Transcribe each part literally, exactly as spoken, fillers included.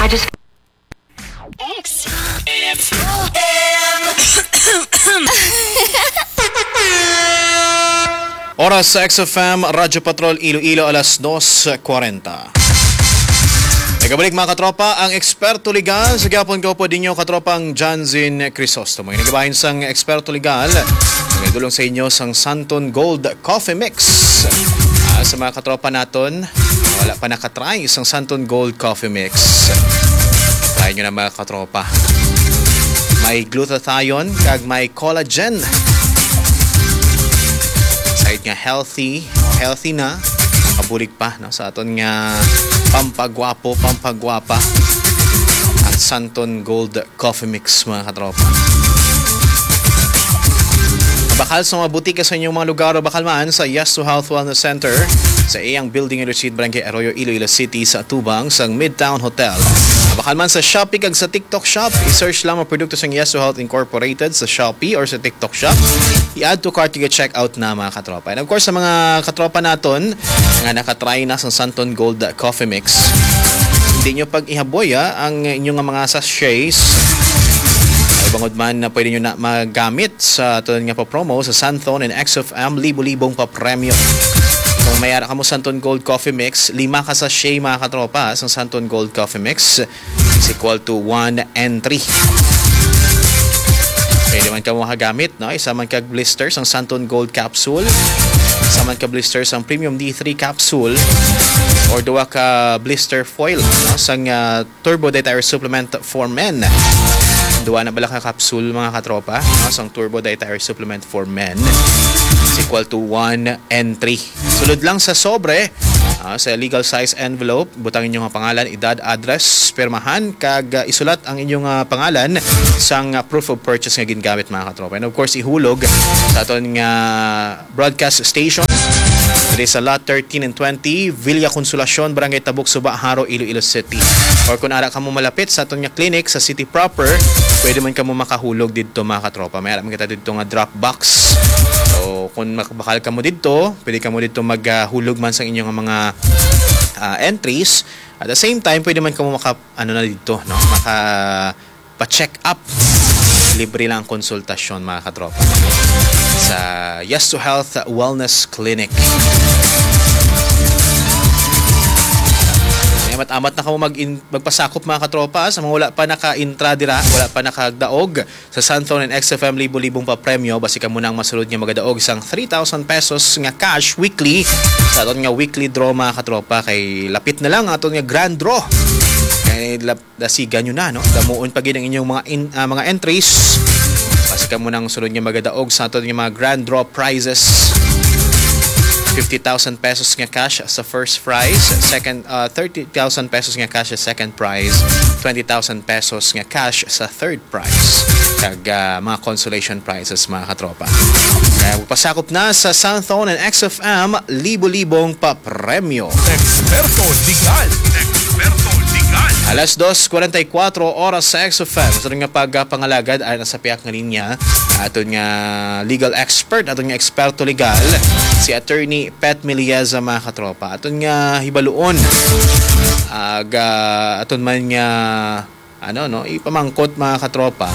I just X. Oras sa X F M Radyo Patrol Iloilo, alas dos kwarenta. Nagabalik, mga katropa, ang eksperto legal sa gihapon, kaupod ninyo, katropang Janzin Crisostomo. Ang nagabahin sang eksperto legal, nagdulong sa inyo sang Santon Gold Coffee Mix. Ah, sa mga katropa naton, wala pa nakatry sang Santon Gold Coffee Mix, try nyo na, mga katropa. May glutathione kag may collagen. Side nga healthy, healthy na, kabulig pa, no, sa aton nga pampagwapo, pampagwapa, ang Santon Gold Coffee Mix, mga katropa. Bakal sa mga butika sa inyong mga lugar, o bakal man sa Yes to Health Wellness Center, sa iyang building in Street, Barangay Arroyo, Iloilo City, sa atubang sang Midtown Hotel. Bakal man sa Shopee kag sa TikTok Shop, i-search lang ang produkto sang Yes to Health Incorporated sa Shopee or sa TikTok Shop. I-add to cart kag check out na, mga katropa. And of course, sa mga katropa naton nga nakatry na sa Santon Gold Coffee Mix, hindi nyo pag-ihaboy, ah, ang inyong mga sachets. Ay, bangod man na pwede nyo na magamit sa aton nga pa-promo sa Santon and X F M, libo-libong papremyo. Kung may ara kamo Santon Gold Coffee Mix, lima ka sachet, mga katropa, sa Santon Gold Coffee Mix is equal to one entry. Pwede man kamo makagamit, no? Isa man ka blister sang Santon Gold Capsule, isa man ka blister sang Premium D three Capsule, or duha ka blister foil, no? Sang, ah, Turbo Dietary Supplement for Men. Duha na bala ka capsule, mga katropa, no? Sang Turbo Dietary Supplement for Men is equal to one entry. Sulod lang sa sobre, ah, sa legal size envelope, butang inyo nga pangalan, edad, address, pirmahan, kag, ah, isulat ang inyong, ah, pangalan sang, ah, proof of purchase nga gingamit, mga katropa. And of course, ihulog sa aton nga broadcast station diri sa Lot thirteen and twenty, Villa Consolacion, Barangay Tabuk, Suba, Jaro, Iloilo City. Or kung ara kamo malapit sa aton nga clinic sa city proper, pwede man kamo makahulog didto, mga katropa. May ara man kita didto nga drop box. So, kung makabakal kamo didto, pwede kamo didto maghulog man sa inyong mga, ah, entries. At the same time, pwede man kamo maka, ano na didto, no? Maka pa-check up. Libre lang ang konsultasyon, mga katropa, sa Yes to Health Wellness Clinic. May amat-amat na kamo mag-in-, magpasakop, mga katropa, sa mga wala pa naka-intra dira, wala pa nakadaog sa Santon and X F M libo-libong papremyo, basi kamo na ang masulod nga magadaog sang three thousand pesos nga cash weekly sa aton nga weekly draw, mga katropa, kay lapit na lang ang aton nga grand draw. Kay lap-, dasigan nyo na, no? Damuon pa gid ang inyong mga in-, ah, mga entries. Basi kamo nang sunod nga magadaog sa aton nga mga grand draw prizes. Fifty thousand pesos nga cash sa first prize, second, ah, thirty thousand pesos nga cash sa second prize, twenty thousand pesos nga cash sa third prize, kag, ah, mga consolation prizes, mga katropa. Kaya magpasakop na sa Santon and X F M, libo-libong papremyo. Eksperto legal. Eksperto legal. Alas dos kwarenta y kuatro oras sa X F M. Sa aton nga pagpangalagad, ay nasa piyak nga linya, aton nga legal expert, aton nga eksperto legal, si Attorney Pet Milieza, mga katropa. Aton nga hibaluon, aga, aton man nga, ano, no, ipamangkot, mga katropa,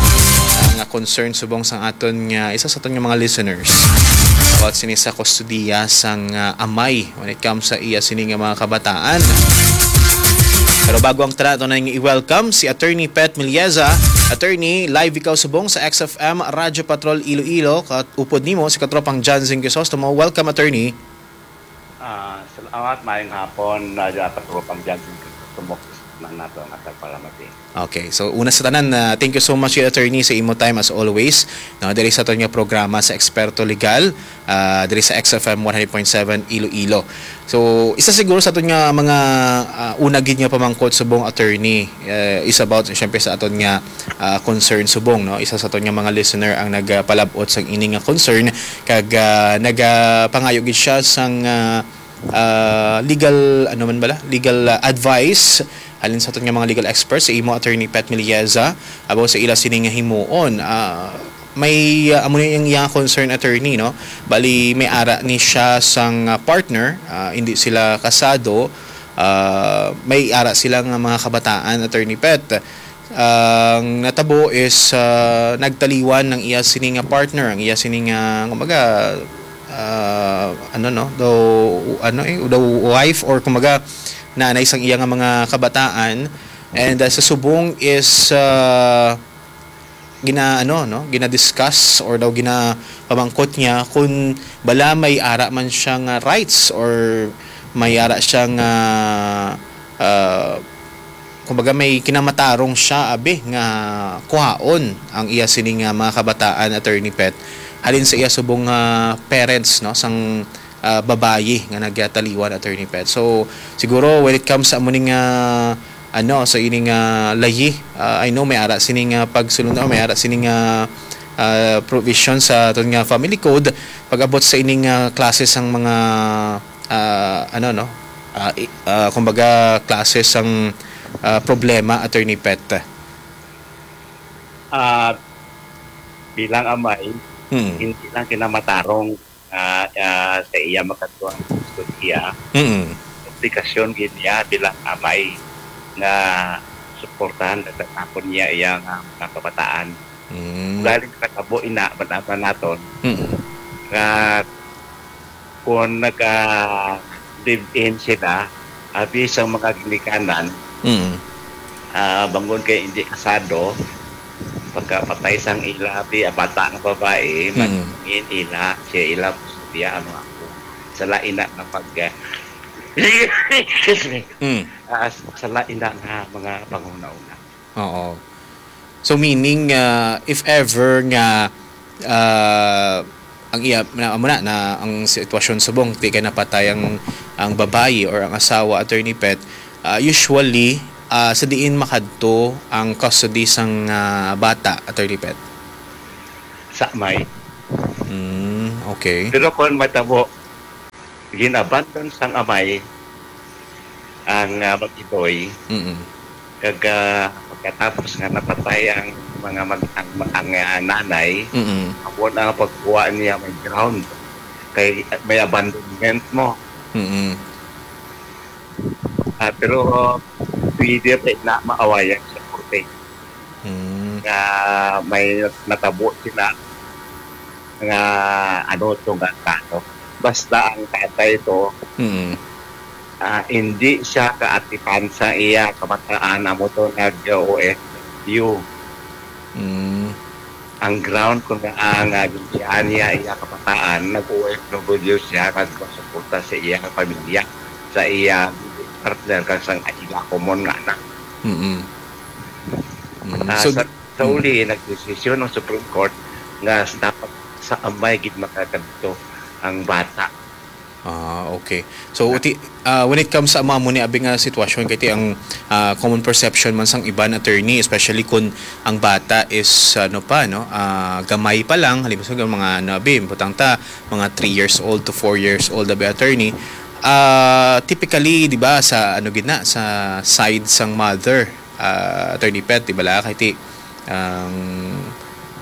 nga concern subong sang aton nga, isa sa aton nga mga listeners about sini sa kustodiya sang, ah, amay when it comes sa iya sini nga mga kabataan. Pero bago ang tanan, aton na i-welcome si Attorney Pet Milieza. Attorney, live ikaw subong sa X F M Radyo Patrol Iloilo. Kat-, upod nimo si katropang Janzen Crisostomo. Welcome, Attorney. Ah, salamat, maayong hapon, ah, dyan, katropang Janzen Crisostomo, na nato ang atag palamati. Okay, so una sa tanan, ah, thank you so much, Attorney, sa imo time as always, no, diri sa aton nga programa sa Eksperto Legal, ah, diri sa X F M one hundred point seven Iloilo. So, isa siguro sa aton nga mga, ah, una gid nga pamangkot subong, Attorney, eh, is about, syempre, sa aton nga, ah, concern subong, no? Isa sa aton nga mga listener ang nagpalab-ot sang ini nga concern, kag, ah, nagapangayo gid siya sang, ah, ah, legal, ano man bala? Legal, ah, advice halin sa aton nga mga legal experts, sa imo, Attorney Pet Milieza, about sa ila sini nga himuon. Ah, may, ah, amo ni ang iyang concern, Attorney, no? Bali, may ara ni siya sang, ah, partner, ah, hindi sila kasado, ah, may ara sila nga mga kabataan, Attorney Pet. Ang natabo is, ah, nagtaliwan ang iya sini nga partner, ang iya sini nga, kumbaga, ah, ano, no, daw, ano, eh, daw wife, or kumbaga, nanay sang iya nga mga kabataan. And, ah, sa subong is, ah, gina-, ano, no, gina-discuss or daw ginapamangkot niya kung bala may ara man siya nga rights or may ara siya nga, ah, kumbaga, may kinamatarong siya, abi, nga kuhaon ang iya sini nga mga kabataan, Attorney Pet, halin sa iya subong nga parents, no, sang, ah, babayi nga nagtaliwan, Attorney Pet. So, siguro, when it comes sa amo ning, ah, ano, sa ining, ah, layi, ah, I know may ara sining, ah, pagsulundan, may ara sining, ah, ah, provision sa aton nga family code pag-abot sa ining, ah, klase sang mga, ah, ano, no, ah, i-, ah, kumbaga, klase sang, ah, problema, Attorney Pet. Ah, bilang amay, Mm. hindi lang kinamatarong nga, ah, sa iya makadto ang kustodiya, Mm. obligasyon gid niya bilang amay nga suportahan at tapon niya iya nga mga kabataan. Mm. Galing sa kabo ina, manaman naton, Mm. nga kung naga-live-in sila, abi sa mga ginikanan, Mm. ah, bangod kay hindi kasado, pagkapatay sang ila, abi, ang bata nga babae, Mm. magin ila, siya ila, siya ang mga apo. Sala ina nga pag, excuse me. Mm. Ah, sala ina nga mga panghuna-una. Oo. So, meaning, ah, if ever nga, ah, ang iya, na, amo na, na ang sitwasyon subong, di kay napatay ang, ang babayi or ang asawa, Attorney Pet, ah, usually, ah, sa diin makadto ang custody sang, ah, bata, Attorney Pet? Sa amay. Mm, okay. Pero kung matabo, gin-abandon sang amay ang, ah, mag-iloy, Mm. kag, ah, pagkatapos nga napatay ang mga mag-, ang, ang, ah, nanay, Mm. amo na ang pagkuha niya may ground, kay may abandonment mo. Mm. Ah, pero pwede pa na maawayan sa korte. Mm. Nga may natabo sila nga, ano, to nga kaso. Basta ang tatay to, Mm. ah, hindi siya kaatipan sa iya kabataan, amo to nag-O F W. Mm. Ang ground kung nga ang, ah, ginbiyaan niya iya kabataan, nag-O F W siya, nagpasuporta sa iya nga pamilya, sa iya partner, kag sa ila common nga anak. Mm. Mm. Ah, So, sa, sa mm. uli, nagdesisyon ang Supreme Court nga s-, dapat sa amay gid makakadto ang bata. Ah, okay. So, uti, ah, when it comes sa mga mo ni abi nga sitwasyon, kay ti ang, ah, common perception man sang iban, attorney, especially kun ang bata is, ano pa, no, ah, gamay pa lang, halimbawa, sa mga, ano, abi, butang ta, mga three years old to four years old, abi, attorney. Ah, typically, di ba, sa, ano, gid na, sa side sang mother, ah, Attorney Pet, di ba, la, kay ti, ang,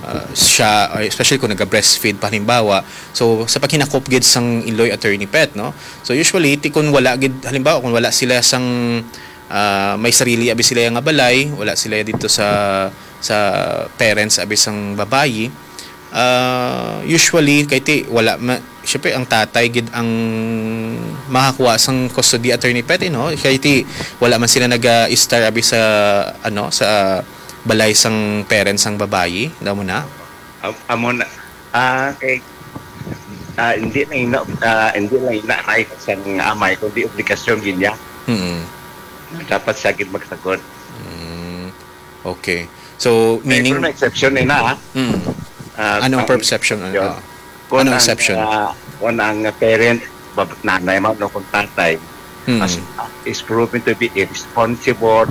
ah, siya, ay, especially kung naga-breastfeed pa, halimbawa, so, sa paghinakop gid sang iloy, Attorney Pet, no? So, usually, ti kung wala gid, halimbawa, kung wala sila sang, ah, may sarili abi sila nga balay, wala sila dito sa, sa parents abi sang babayi, ah, usually, kay ti, wala ma-, syempre, ang tatay gid ang makakuha sang custody, Attorney Pet, eh, no? Kay ti, wala man sila naga-stay abi sa, ano, sa balay sang parents sang babayi, daw mo na? Am-, amo na, ah, kay, ah, hindi lang ina, ah, hindi lang ina right sang amay, kundi obligasyon gid niya. Mm. Dapat siya gid magsagot. Mm. Okay. So, May, meaning pero may exception na, ha? Mm. Ah, Anong ang perception? Exception, Ah. kung Anong ang, exception? ah, kung ang parent, bab-, nanay man o kung tatay, Mm. as, is proven to be irresponsible,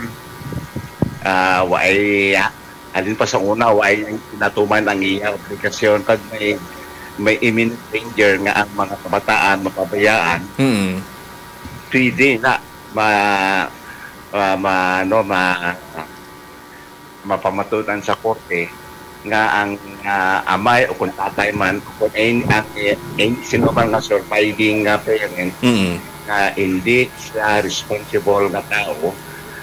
ah, wa ay, ah, halin pa sa una, wa ay natuman ang iya obligasyon, kag may, may imminent danger nga ang mga kabataan mapabayaan, Mm. pwede na ma-, ma-, ma-, ano, ma-, mapamatud-an sa korte nga ang, ah, amay o kung tatay man, o kung any, ang, eh, any, sino man nga surviving nga parent, Mm. nga hindi sa responsible nga tao,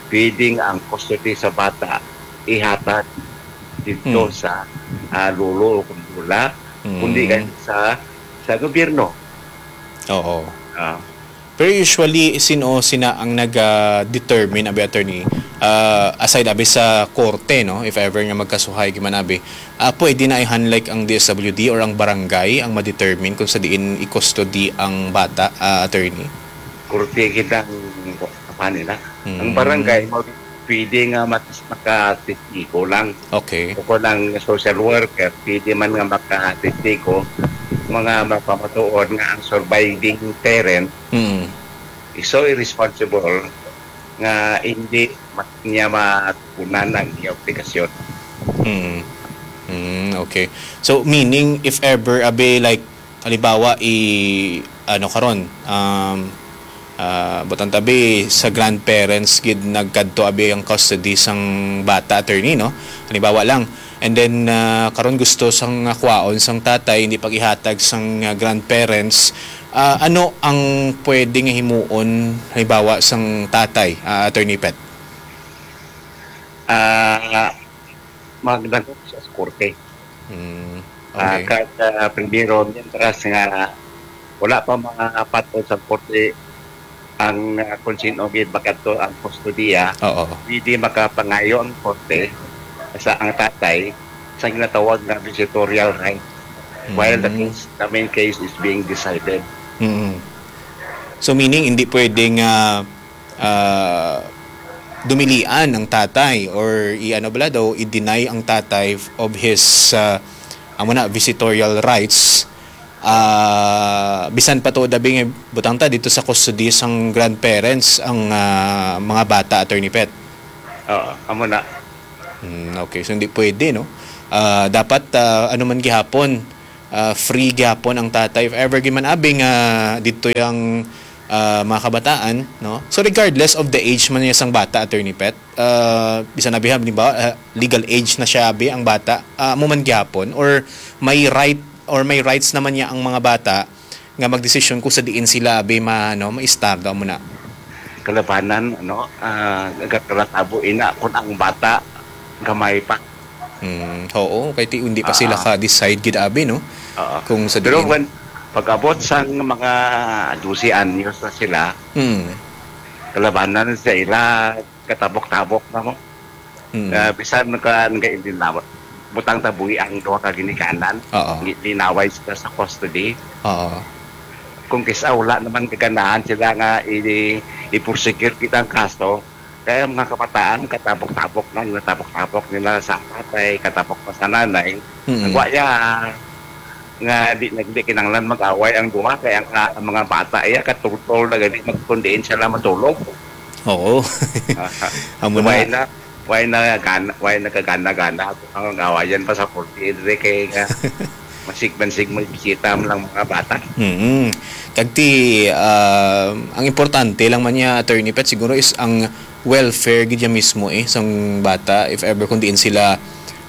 pwedeng ang custody sa bata ihatag dito Hmm. sa, ah, lolo o kung lola, kundi Hmm. kay sa, sa gobyerno. Oo. Ah. Pero usually, sino sina ang nag, ah, determine, abi, attorney? Ah, aside, abi, sa korte, no? If ever nga magkasuhay, giman, abi, ah, pwede na i-hand, like, ang D S W D or ang barangay ang ma-determine kung sa diin i-custody ang bata, ah, attorney? Korte gid ang kuwan nila. Ang Mm. barangay, mo, pwede nga mat-, makatestigo lang. Okay. O kung ang social worker, pwede man nga makatestigo, mga mapamatuod nga ang surviving parent, Mm. iso irresponsible nga hindi ma-, niya matugunan ang iyang obligasyon. Mm. Mm, okay. So, meaning, if ever, abi, like, halimbawa, i-, ano, karon, um, ah, butang ta, abi, sa grandparents gid nagkadto, abi, ang custody sang bata, attorney, no? Halimbawa lang. And then, ah, karon gusto sang, ah, kwaon sang tatay, hindi pag-ihatag sang, ah, grandparents. Ah, ano ang pwede nga himuon, halimbawa, sang tatay, ah, Attorney Pet? Ah, magdangop siya sa korte. Hmm, Ah, okay. Kag, ah, primero, mientras nga wala pa mga patol sa korte ang, ah, kung sino gid makadto ang kustodiya, Oo. Hindi makapangayo ang korte sa ang tatay sa ginatawag nga visitorial right while the Mm. case, the main case is being decided. Mm. So, meaning, hindi pwedeng, ah, ah, dumilian ang tatay or i-, ano bala daw, i-deny ang tatay of his, ah, amo na, visitorial rights, ah, bisan pa to, dabi nga butang ta dito sa custody sang grandparents ang, ah, mga bata, Attorney Pet. Oo, amo na. Hmm, okay. So, hindi pwede, no? Ah, dapat, ah, ano man gihapon, ah, free gihapon ang tatay. If ever gid man, abi, nga dito yung, ah, mga kabataan, no? So, regardless of the age man niya sang bata, Attorney Pet, ah, bisan, abi, halimbawa, ah, legal age na siya, abi, ang bata, ah, amo man gihapon, or may right, or may rights naman niya ang mga bata nga magdesisyon kung sa diin sila, abi, ma-, ano, ma-istar daw mo na. Kalabanan, ano, ah, nagkakatabo ina kung ang bata gamay pa. Hmm, oo, kay ti-, hindi pa sila Ah. ka-decide gid, abi, no? Oo. Kung sa Pero diin. When, pag-abot sang mga dose anyos na sila, Hmm. kalabanan sa ila, katabok-tabok na mo. Mm. Ah, bisan ka nagaintinawat, butang ta buhi ang duha ka ginikanan, Oo. gi-, linaway sila sa custody. Oo. Kung kisa wala naman kaganahan sila nga i-, i-prosecute kita ang kaso, kaya ang mga kabataan, katabok-tabok na, natabok-tabok nila sa tatay, katabok pa sa nanay. Mm. Ang wa ya, nga di, di kinahanglan mag-away ang duha, kay ang, ah, ang mga bata iya katultol na gani magkundiin sila matulog. Oo. Amo na. Why na, why na gana, why nagkagana-gana ang awayan pa sa korte, diri kay nga masig-, masig magbisita man lang mga bata. Mm. Kag ti, ah, ang importante lang man niya, Attorney Pet, siguro is ang welfare gid ya mismo, eh, sang bata, if ever kung diin sila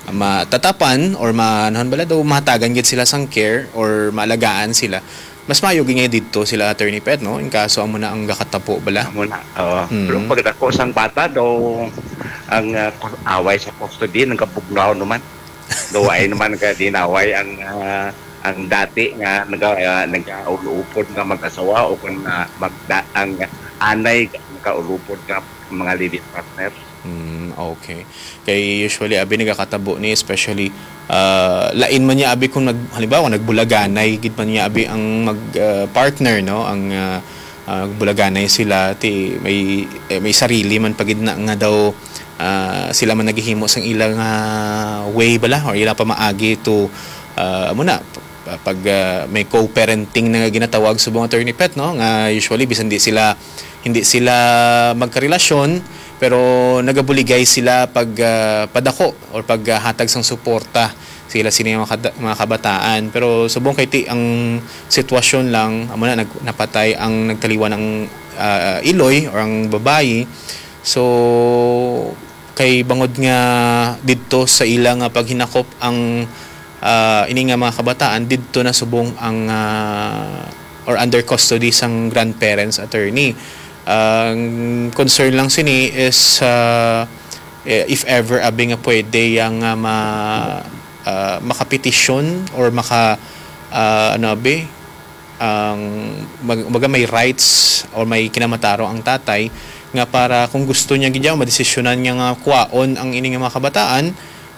matatapan or ma-, anuhan bala daw, mahatagan gid sila sang care or maalagaan sila, mas maayo gid nga didto sila, Attorney Pet, no? In kaso amo na ang gakatapo bala. Amo na, oo. Mm. Pero pagdako sang bata daw, ang, ah, ku-, away sa custody nagabugnaw naman. Daw ay naman ka dinaway ang, ah, ang dati nga naga-, ah, nagaulupod nga mag-asawa o kung, ah, magda-, ang anay nagaulupod nga mga live-in partner. Mm, okay. Kay usually, abi, nagakatabo ni, especially, ah, lain man niya, abi, kung nag-, halimbawa, nagbulaganay gid man niya, abi, ang mag, ah, partner, no? Ang, ah, ah, nagbulaganay sila, ti, may, eh, may sarili man pa gid na nga daw, ah, sila man naghihimo sang ila nga way bala or ila pamaagi to, ah, amo na, p-, pag, ah, may co-parenting na nga ginatawag subong, Attorney Pet, no? Nga usually, bisan di sila hindi sila magkarelasyon, pero nagabuligay sila pag, ah, padako or paghatag sang suporta sa ila sini mga kada-, mga kabataan. Pero subong kay ti ang sitwasyon lang, amo na, nag-, napatay ang nagtaliwan ang, ah, iloy or ang babayi. So, kay bangod nga didto sa ila nga paghinakop ang, ah, ini nga mga kabataan, didto na subong ang, ah, or under custody sang grandparents, attorney. Ang concern lang sini is, ah, eh, if ever abi nga pwede yang, ah, ma-, ah, makapetisyon or maka, ah, ano abi, ang mag-, baga may rights or may kinamatarong ang tatay nga para kung gusto niya gid, madesisyonan niya nga kuwaon ang ini nga mga kabataan,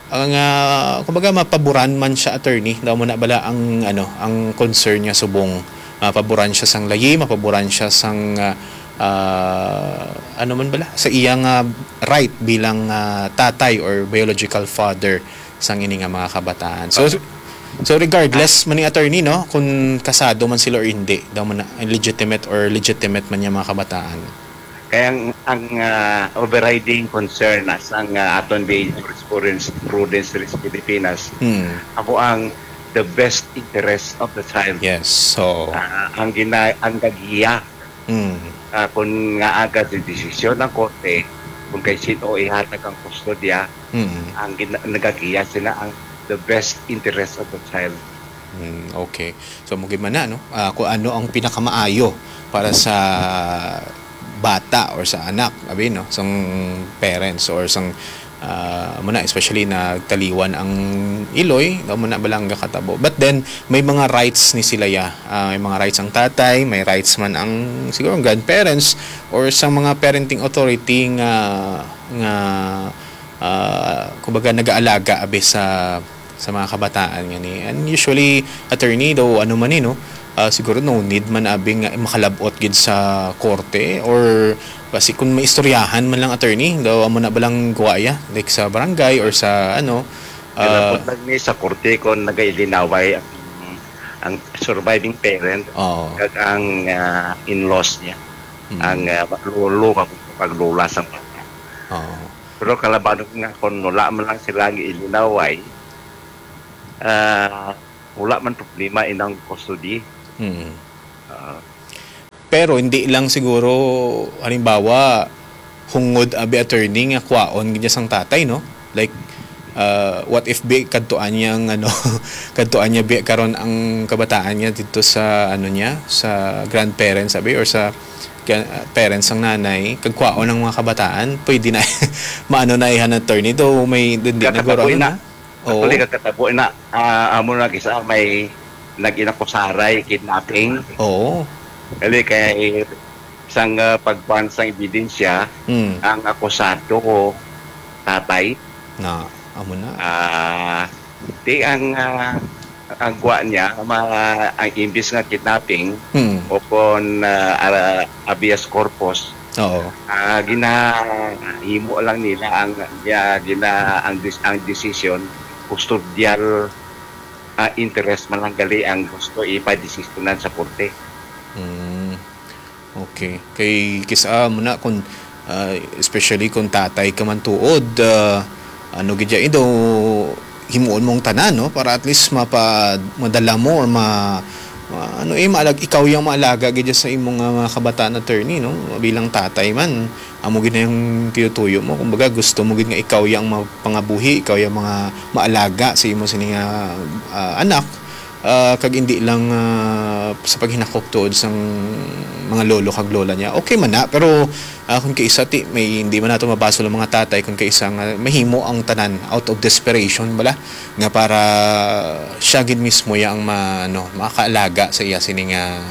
ang, ah, kumbaga, mapaboran man siya, attorney, daw mo na bala ang, ano, ang concern niya subong, mapaboran siya sang layi, mapaboran siya sang, ah, ah, ano man bala, sa iyang, ah, right bilang, ah, tatay or biological father sang ini nga mga kabataan. So, so regardless man ni, attorney, no, kung kasado man sila or hindi, daw mo na legitimate or legitimate man niya mga kabataan. Kaya ang, ang, ah, overriding concern na sang, ah, aton di jurisprudence, prudence diri sa Pilipinas, Hmm. amo ang the best interest of the child. Yes. So, Ah, ang gina-, ang gagiya, Hmm. ah, kung nga aga di desisyon ng korte, kung kay sino ihatag ang kustodya, Hmm. ang gina-, nagagiya sila ang the best interest of the child. Hmm, okay. So, mo gid man na, no? Ah, kung ano ang pinakamaayo para sa bata or sa anak, abi, no? Sang parents or sang, ah, mo na, especially na taliwan ang iloy, daw mo na balang gakatabo. But then, may mga rights ni sila, ya. Ah, may mga rights ang tatay, may rights man ang, siguro, ang grandparents or sa mga parenting authority nga, nga, ah, kumbaga, nag-aalaga, abi, sa, sa mga kabataan nga ni. And usually, attorney, daw, ano man ni, no? Ah, siguro no need man abi nga makalabot gid sa korte or basi kung maistoryahan man lang, attorney, daw amo na balang guwaya, like sa barangay or sa ano, ah, Kalabot lang ni sa korte kung nagailinaway ang, ang surviving parent Oo. kag ang, ah, in-laws niya, Mm. ang, ah, lolo kag, kag lola sang bata. Oo. Pero kalabaw nga kung wala man lang sila ang ilinaway, ah, wala man problema inang custody. Mm. Ah. Pero hindi lang siguro, halimbawa, hungod abi, attorney, nga kwaon gid niya sang tatay, no? Like, ah, what if bi kadtuan niya ang, ano, kadtuan niya bi karon ang kabataan niya dito sa, ano niya, sa grandparents abi or sa ga-, parents sang nanay, kag kwaon ang mga kabataan, pwede na maano na ihan, attorney, though may hindi na Kakatabo guro, ano ina. na? Oo. Actually, kakatabo na, ah, amo na kisa may nag-inakusaray, kidnapping. Oo. Kali kay sang, ah, pagkuhan sang ebidensya, Hmm. ang akusado tatay. Na, amo na. Ah, di ang, ah, ang kuha niya, ma-, ang imbis nga kidnapping Hmm. o kon, ah, ara-, habeas corpus, Oo. ah, ginahimo lang nila ang, ya-, gina-, ang dis-, ang desisyon, kustodial, ah, interest man lang gali ang gusto ipadesisyonan sa korte. Mm. Okay. Kay kis-a mo na kung, ah, especially kung tatay ka man tuod, ah, ano gid ya, eh, daw himuon mong tanan, no? Para at least mapa-, madala mo or ma-, ma-, ano, eh, maalag-, ikaw yang maalaga gid ya sa imong, ah, mga kabataan, attorney, no? Bilang tatay man, amo gid na yung tinutuyo mo. Kumbaga, gusto mo gid nga ikaw yang mapangabuhi, ikaw yang mga maalaga sa imo sini nga, ah, anak, ah, kag hindi lang, ah, sa paghinakop tuod sang mga lolo kag lola niya. Okay man na, pero, ah, kung kaisa ti, may hindi man nato mabasol ang mga tatay, kung kaisa nga mahimo ang tanan out of desperation bala, nga para siya gid mismo ya ang ma-, ano, makaalaga sa iya sini nga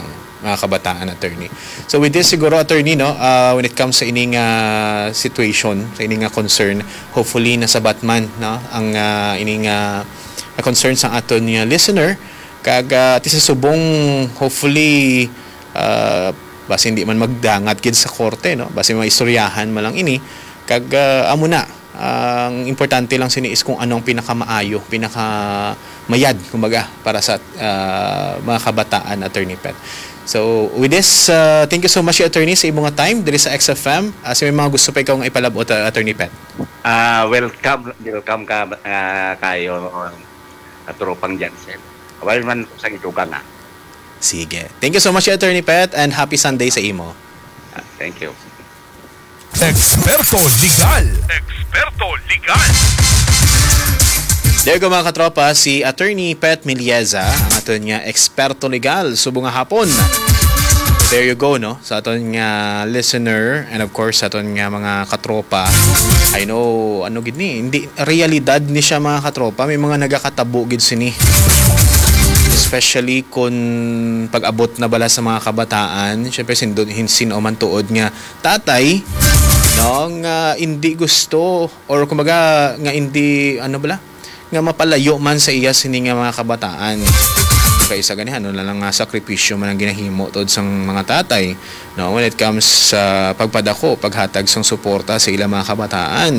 mga kabataan, attorney. So with this siguro, attorney, no, ah, when it comes sa ining, ah, situation, sa ining, ah, concern, hopefully nasabat man, no, ang, ah, ining, ah, concern sa aton nga listener. Kag, ah, ti sa subong, hopefully, ah, basi hindi man magdangat gid sa korte, no, basi maistoryahan man lang ini. Kag, ah, amo na, ang importante lang sini is kung ano ang pinakamaayo, pinakamayad, kumbaga, para sa, ah, mga kabataan, Attorney Pet. So, with this, ah, thank you so much, Attorney, sa imo nga time diri sa X F M. Ah, sa may mga gusto pa ikaw nga ipalabot, ah, Attorney Pet? Ah, welcome, welcome ka, ah, kayo, ah, tropang Jansen. Wala man ko sa idugang, ah. Sige. Thank you so much, Attorney Pet, and happy Sunday sa imo. Ah, thank you. Eksperto Legal. Eksperto Legal. There you go, mga katropa, si Attorney Pet Milieza, ang aton nga eksperto legal subong nga hapon. There you go, no? Sa aton nga listener and of course sa aton nga mga katropa. I know, ano gid ni, hindi realidad ni siya, mga katropa. May mga nagakatabo gid sini. Especially kung pag-abot na bala sa mga kabataan, syempre sindon hinsin o man tuod nga tatay, no, nga hindi gusto or kumbaga nga hindi, ano bala, nga mapalayo man sa iya sini nga mga kabataan. Kay sa ganihan, ano na lang nga sakripisyo man ang ginahimo tod sang mga tatay, no, when it comes sa pagpadako, paghatag sang suporta sa ilang mga kabataan.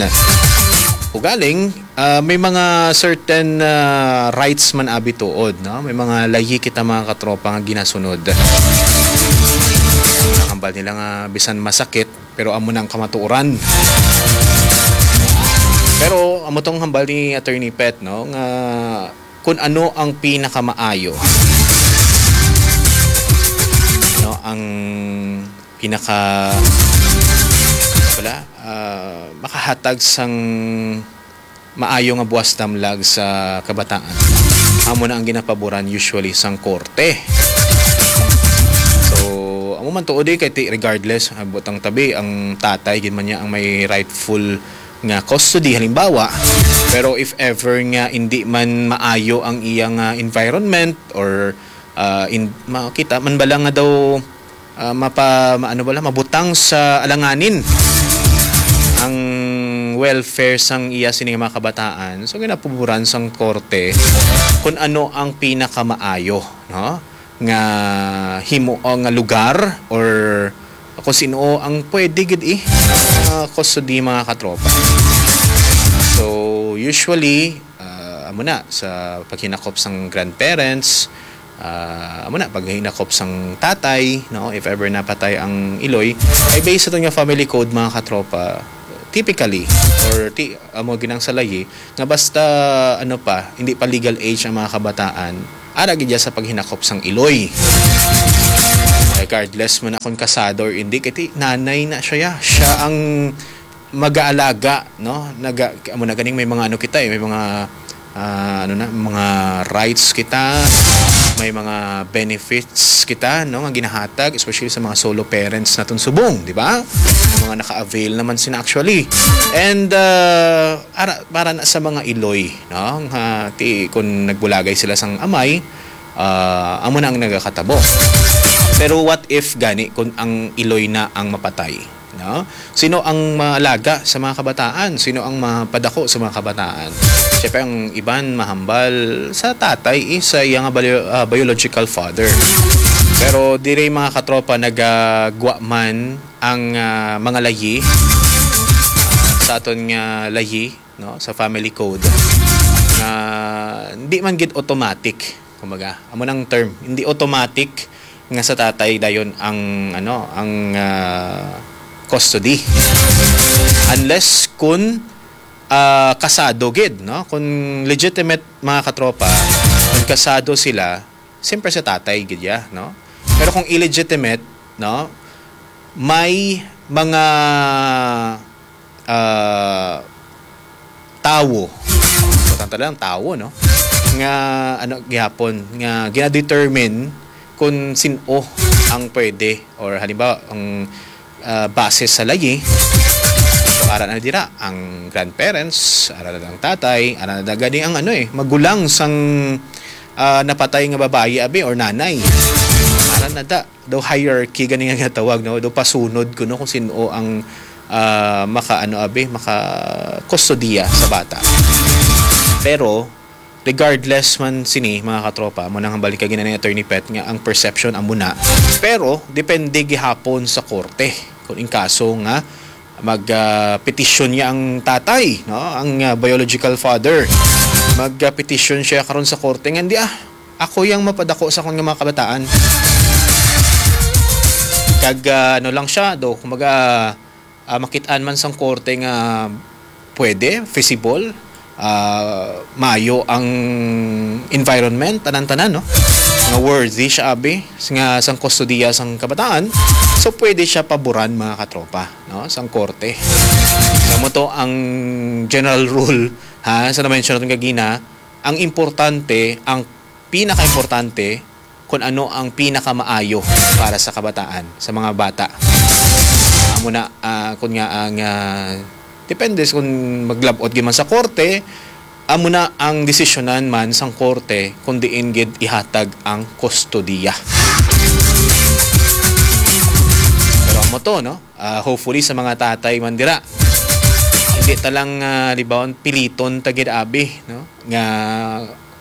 Ugaling, ah, may mga certain, ah, rights man abi tuod, no? May mga layi kita, mga katropa, nga ginasunod. Ang hambal nila nga bisan masakit, pero amo na ang kamatuoran. Pero amo tong hambal ni Attorney Pet, no, nga kung ano ang pinakamaayo, no, ang pinaka, wala, ah, makahatag sang maayo nga buwas damlag sa kabataan, amo na ang ginapaboran usually sang korte. So, amo man tuod, eh, kay ti-, regardless, ah, butang tabi, ang tatay gid man niya ang may rightful nga custody, halimbawa. Pero if ever nga hindi man maayo ang iyang, ah, environment or, ah, in-, makita man bala nga daw, ah, mapa-, ma-, ano bala, mabutang sa alanganin ang welfare sang iya sini nga mga kabataan. So, ginapaboran sang korte kung ano ang pinakamaayo, no, nga himo o nga lugar or kung sino ang pwede gid, eh, ah, custody, mga katropa. So, usually, ah, amo na, sa paghinakop sang grandparents, ah, amo na, paghinakop sang tatay, no, if ever napatay ang iloy, kay based sa aton nga family code, mga katropa, typically, or ti-, amo ginang sa layi, nga basta, ano pa, hindi pa legal age ang mga kabataan, ara gid siya sa paghinakop sang iloy. Regardless mo na kung kasado or hindi, kay ti-, nanay na siya, ya. Siya ang mag-aalaga, no? Naga-, amo na ganing may mga ano kita, eh, may mga, ah, ano na, mga rights kita, may mga benefits kita, no, nga ginahatag, especially sa mga solo parents naton subong, di ba? Mga naka-avail naman sila actually. And, ah, ara, para na sa mga iloy, no? Nga ti-, kung nagbulagay sila sang amay, ah, amo na ang nagakatabo. Pero what if gani kung ang iloy na ang mapatay? No? Sino ang maalaga sa mga kabataan? Sino ang mapadako sa mga kabataan? Siyempre, ang iban mahambal sa tatay, eh, sa iyang bio-, ah, biological father. Pero diri, mga katropa, nagagwa man ang, ah, mga layi sa aton nga layi, no, sa family code, nga hindi man gid automatic, kumbaga, amo nang term, hindi automatic nga sa tatay dayon ang, ano, ang, ah, custody. Unless kun, ah, kasado gid, no? Kun legitimate, mga katropa, kun kasado sila, siyempre sa tatay gid ya, no? Pero kung illegitimate, no, may mga, ah, tawo, importante lang, tawo, no, nga, ano, gihapon, nga gina-determine kung sin-o ang pwede, or halimbawa, ang, ah, base sa layi, so, ara na dira ang grandparents, ara na ang tatay, ara na gani ang, ano, eh, magulang sang, ah, napatay nga babayi, abi, or nanay. Ara na da, daw hierarchy gani nga ginatawag, no? Daw pasunod kuno kung sin-o ang, ah, maka, ano, abi, maka-kustodiya sa bata. Pero, regardless man sini, mga katropa, amo nang hambal ni kagina ni Attorney Pet nga ang perception amo na. Pero, depende gihapon sa korte kung in kaso nga mag, ah, petisyon niya ang tatay, no? Ang, ah, biological father. Mag, ah, petisyon siya karon sa korte nga, "Hindi, ah, ako yang mapadako sa akon nga mga kabataan." Kag, ah, ano lang siya, do, kumbaga, ah, makit-an man sang korte nga pwede, feasible, ah, maayo ang environment, tanan-tanan, no? Nga worthy siya, abi, nga sang kustodiya sang kabataan. So, pwede siya paboran, mga katropa, no? Sang korte. Sa mo to ang general rule, ha? Sa na-mention natin kagina, Ang importante, ang pinakaimportante, kung ano ang pinakamaayo para sa kabataan, sa mga bata. Amo na, ah, kun nga ang, ah, depende sa kung maglab-ot gyud man sa korte, amo na ang desisyonan man sang korte kung diin gid ihatag ang kustodiya. Pero amo to, no? Ah, hopefully sa mga tatay man dira, hindi ta lang, ah, libawon, piliton ta gid abi, no? Nga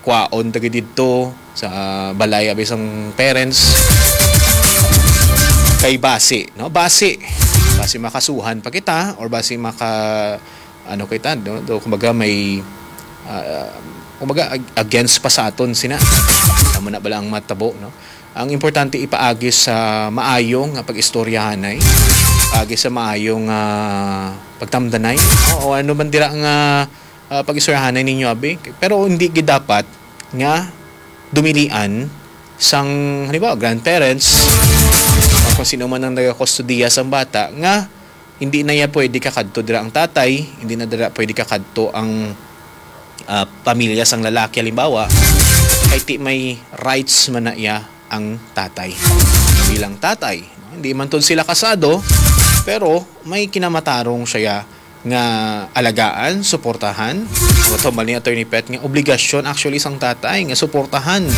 kwaon ta gid didto sa balay abi sang parents. Kay basi, no? Basi. Basi makasuhan pa kita or basi maka, ano kita, no? Do, kumbaga may, ah, kumbaga ag-, against pa sa aton sina. Amo na bala ang matabo, no? Ang importante ipaagi sa maayong nga pag-istoryahanay, paagi sa maayong, ah, pagtamdanay, no? O ano man dira nga, ah, pag-istoryahanay ninyo abi, pero hindi gid dapat nga dumilian sang, halimbawa, grandparents o kung sino man ang nagakustodiya sang bata nga hindi na iya pwede kakadto dira ang tatay, hindi na dira pwede kakadto ang, ah, pamilya sang lalaki, halimbawa, kay ti may rights man na iya ang tatay bilang tatay, no? Hindi man to sila kasado, pero may kinamatarong siya nga alagaan, suportahan. Matambal ni Attorney Pet nga obligasyon actually sang tatay nga suportahan.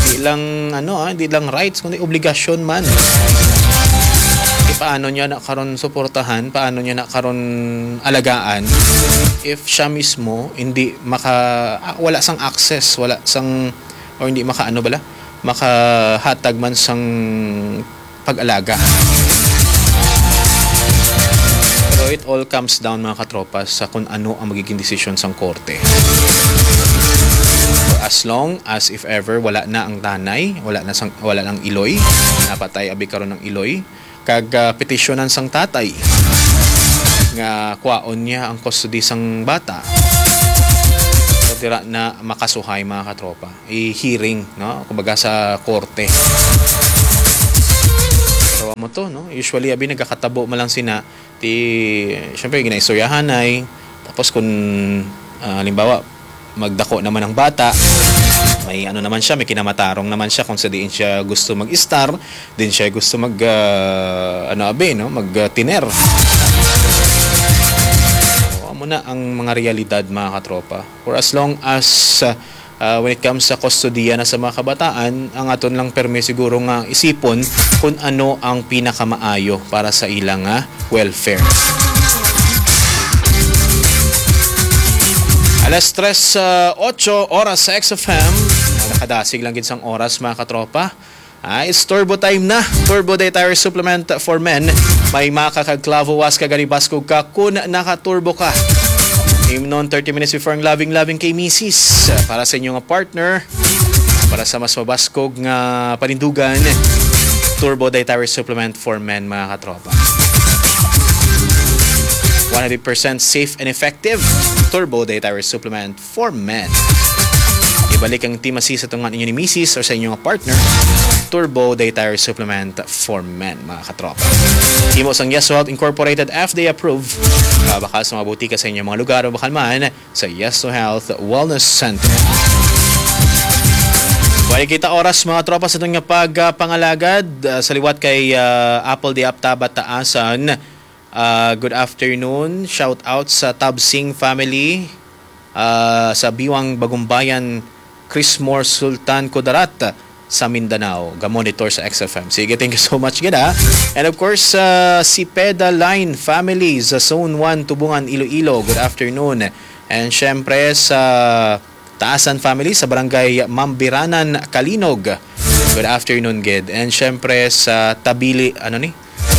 Di lang, ano, ah, di lang rights, kundi obligasyon man. E, paano niya na karon suportahan? Paano niya na karon alagaan if siya mismo hindi maka-, ah, wala sang access, wala sang, or hindi maka-, ano bala, makahatag man sang pag-alaga. So it all comes down, mga katropa, sa kung ano ang magiging desisyon sang korte. For as long as, if ever, wala na ang tanay, wala na sang, wala nang iloy, napatay abi karon ang iloy, kag, ah, petisyonan sang tatay nga kwaon niya ang custody sang bata, so dira na makasuhay, mga katropa, i-hearing, no? Kumbaga sa korte. So, amo to, no? Usually, abi, nagakatabo man lang sina, ti, syempre, ginaistoryahanay. Tapos kung, ah, halimbawa, magdako naman ang bata, may ano naman siya, may kinamatarong naman siya kung sa diin siya gusto mag-istar, din siya gusto mag, ah, ano, abi, no? Mag, ah, tiner. So, amo na ang mga realidad, mga katropa. For as long as, ah, ah, when it comes sa kustodiya na sa mga kabataan, ang aton lang permi siguro nga isipon kung ano ang pinakamaayo para sa ila nga welfare. Alas tres, ah, otso oras sa X F M. Nakadasig lang gid sang oras, mga katropa. Ah, it's turbo time na. Turbo Day Tire Supplement for Men. May maka kag clavo, was ka, gani baskog ka kun naka-turbo ka. Imnon thirty minutes before ang loving-loving kay misis. Para sa inyo nga partner, para sa mas mabaskog nga panindugan, Turbo Day Tire Supplement for Men, mga katropa. One hundred percent safe and effective. Turbo Day Tire Supplement for Men. Ibalik ang intimacy sa tunga ninyo ni misis or sa inyong partner. Turbo Day Tire Supplement for Men, mga katropa. Himo sang Yes to Health Incorporated, F D A approved. Ah, bakal sa mga butika sa inyong mga lugar o bakal man sa Yes to Health Wellness Center. Wala kita oras, mga tropa, sa aton nga pagpangalagad, ah, sa liwat kay, ah, Apple de Aptaba Taasan. Ah, good afternoon. Shout out sa Tabsing family, ah, sa Biwang Bagumbayan, Chrismore Sultan Kudarat sa Mindanao. Ga-monitor sa X F M. Sige, thank you so much gid, ha. And of course, ah, si Peda Line family sa Zone one, Tubungan, Iloilo. Good afternoon. And syempre sa Taasan family sa Barangay Mambiranan, Calinog. Good afternoon gid. And syempre sa Tabili, ano ni?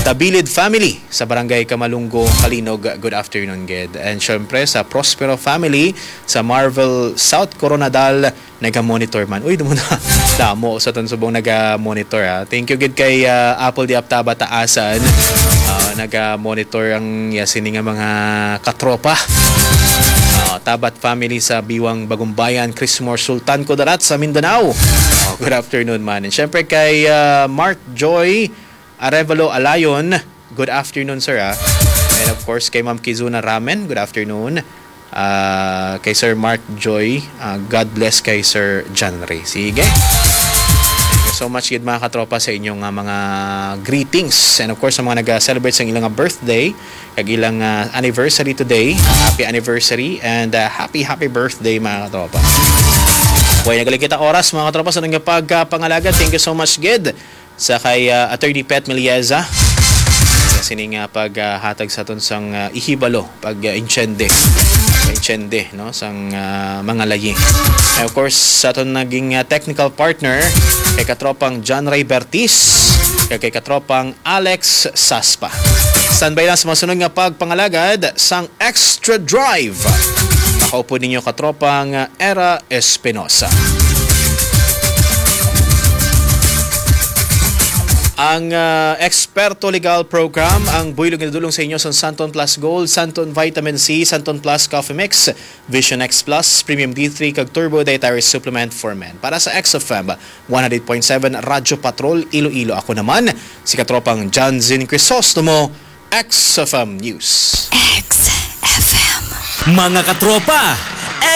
Tabilid family sa Barangay Kamalungo, Calinog. Good afternoon gid. And syempre sa Prospero family sa Marvel, South Coronadal, naga-monitor man. Uy, damo na. Damo sa aton subong naga-monitor, ha. Thank you gid kay, ah, Apple di Aptaba Taasan. Ah, naga-monitor ang, ya, sini nga mga katropa. Ah, Tabat family sa Biwang Bagumbayan, Chrismore Sultan Kudarat sa Mindanao. Oh, good afternoon man. And syempre kay, ah, Mark Joy Arevalo Alayon, good afternoon, sir, ah. And of course, kay Ma'am Kizuna Ramen, good afternoon. Ah, kay Sir Mark Joy, ah, God bless kay Sir John Ray. Sige. Thank you so much gid, mga katropa, sa inyong, ah, mga greetings. And of course, sa mga nag-celebrate sa ilang birthday, kag ilang, ah, anniversary today, happy anniversary and, ah, happy, happy birthday, mga katropa. Way, nagaling kita oras, mga katropa, sa nang pagpangalagad. Thank you so much gid sa kay, ah, Attorney Pet Melieza. Sa sining, ah, paghatag sa aton sang, ah, ihibalo, pag, ah, insyende. Insyende, no, sang, ah, mga layi. And of course, sa aton naging, ah, technical partner, kay katropang John Ray Bertis, kag kay katropang Alex Saspa. Standby lang sa masunod nga pagpangalagad sang Extra Drive. Makaupod ninyo katropang, ah, Era Espinosa. Ang, ah, Eksperto Legal Program, ang buylog nga dulong sa inyo sa Santon Plus Gold, Santon Vitamin C, Santon Plus Coffee Mix, Vision X Plus, Premium D three, kag Turbo Dietary Supplement for Men. Para sa X F M one hundred point seven Radyo Patrol, Iloilo, ako naman, si katropang John Zin Crisostomo, X F M News. X F M. Mga katropa,